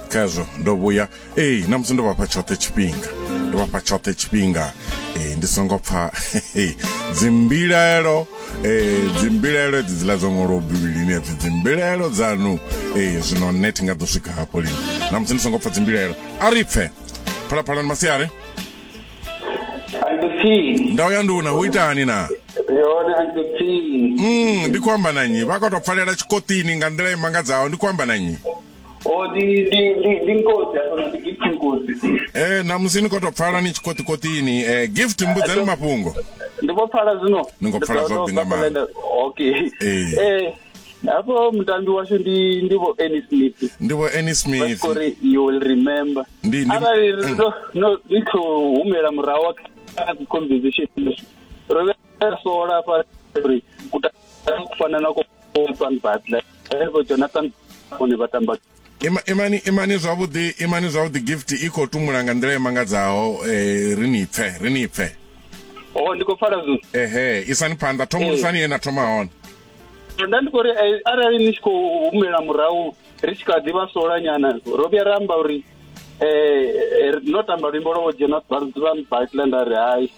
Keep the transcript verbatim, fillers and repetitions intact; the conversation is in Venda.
Khazwo ndo vhuya. Ee, na musi ndo vhafha tshoṱhe tshifhinga, ndo vhafha tshoṱhe tshifhinga, eh ndi songo pfa dzimbilaelo, eh dzimbilaelo edzi dziḽa dzo ṅwalwaho Bivhilini, epfi dzimbilaelo dzanu. eh zwino nṋe thi nga ḓo swika hafho lini na musi ndi songo pfa dzimbilaelo. A ri pfe Phalaphala ni masiari. Uncle P. Ndau ya nduna, hu itani na? Yone, Uncle P. mm, ndi khou amba na nnyi? Vha khou tou pfalela tshikoṱini nga nḓila i mangadzaho. Ndi khou amba na nnyi? O ndi ndi ndi ndi Nkosi hafha, ndi Gift Nkosi. Eh, namusi ni khou tou pfala ni tshikoṱikoṱini. eh Gift, mbudzeni mafhungo. Ndi vho pfala zwino. Ni khou pfala zwavhuḓi nga maanḓa. Okay. Ee. Eh hafho mutambi washu ndi ndi vho Annie Smith. Ndi vho Annie Smith. Uri "You Will Remember". Ndi- ndi- Arali mm. ro no ri khou humela murahu kha conversation, ro vhe sola hafha uri kutamba kufana na ko Van Butler, vho Jonathan vhone vha tamba. Ima, imani imani zwavhuḓi, imani zwavhuḓi. Gift i khou tumula nga nḓila i mangadzaho. eh ri ni pfe, ri ni pfe. Oh, ndi khou pfala zwino. Ehe, isani phanḓa, thomulisani ye na thoma hone. Nda ndi khou ri, eh, arali ni tshi khou humela murahu, ri tshi kha ḓi vha sola nyana, ro vhuya ra amba uri eh no tamba luimbo lwa vho Jonathan Van Butler, nda ri hai.